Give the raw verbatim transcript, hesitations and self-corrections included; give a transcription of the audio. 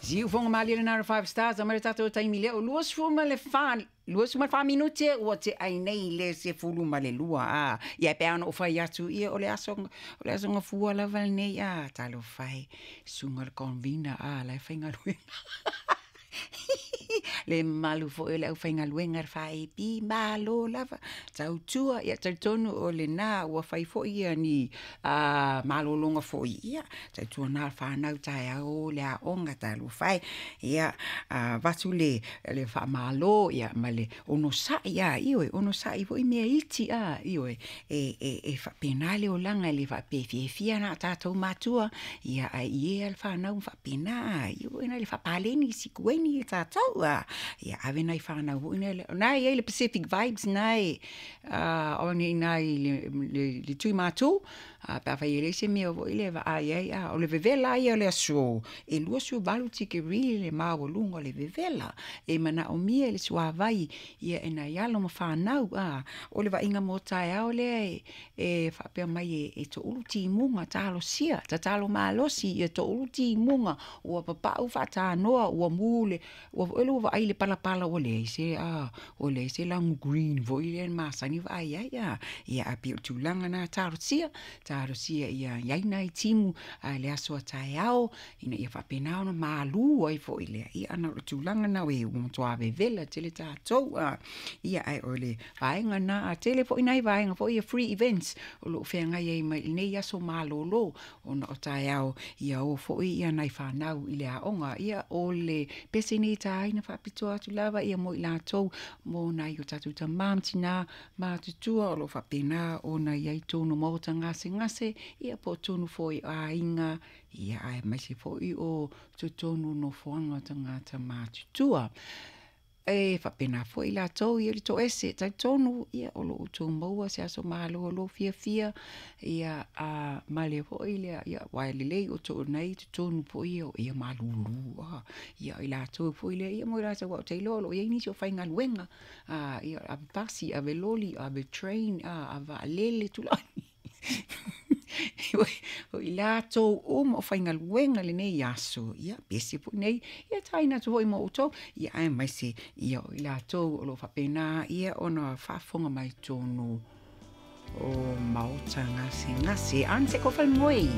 Siufoga malie lena o le Five Stars a mai le tatou taimi lea o luasefulu ma le fa luasefulu ma le fa minute ua te'ai nei le sefulu ma le lua a. Ia e pei ona ou fai atu ia o le aso o le aso gafua lava lenei a. Talofa e, susuga le convener a la e faigaluega le mamalu foi o le aufaigaluega le F A B malo lava tautua. Ia talitonu o lena ua fai foi ia ni a malologa foi ia tautuana le fanau taeao le aoga. Talofa e, ia avatu le le faamalo ia ma le onosa'i a. Ioe, onosa'i foi mea iti a. Ioe, e e e faapena le olaga e le faapea e fiafia na o tatou matua ia ae i e le fanau ma faapena a. Ioe, na le faapaleni sikueni tatou a. Ia ave nai fanau foi na na e i ai le Pacific Vibes na e o nei na i le le, le tui matu a pe afai e leai se mea foi le vaai ai a. O le vevela ia o le aso e luasefulu valu tikeri le maualuga o le vevela e manaomia i le suavai ia e nai alo ma fanau a. O le vaaiga mo taeao lea e, e faapea mai e, e toʻulu timuga. Talosia, tatalo malosi ia toʻulu timuga ua papa'u faatanoa ua mu le ua foi le ua vaai le palapala ua leai se a ua leai se lagu green foi lea na masani vaai ai a. Ia ae pei o le tulaga na. Talosia, talosia ia iai nai timu a le aso a taeao ina ia faapena ona malu ai foi lea. Ia ana o le tulaga na e ua matuā vevela tele tatou a. Ia ae o le vaega na a tele foi nai vaega foi ia free events o loo feagai ai mai lenei aso malolo ona o taeao ia o foi ia nai fanau i le aoga. Ia o le pese nei taina faapitoa atu lava ia mo i latou mo nai o tatou tamā ma tinā matutua o loo faapena ona i ai tonu maota gasegase ia po o tonu foi o aiga ia aemaise foi o totonu nofoaga o tagata matutua e faapena foi latou ia le toese. Talitonu ia o loo outou maua se aso malolo fiafia ia a ma le foi lea ia aua e lelei o toonai totonu foi ia o ia malūlū a ia i latou foi lea ia mo i latou ua ou te iloa o loo iai nisi o faigaluega a ia ave pasi, ave loli, ave train a, ave vaalele tulai o i latou uma o faigaluega lenei aso. Ia pese foi nei ia taina atu foi mo outou ia aemaise ia o i latou o loo faapena ia ona faafofoga mai tonu o maota gasegase. Anse ko fal moi.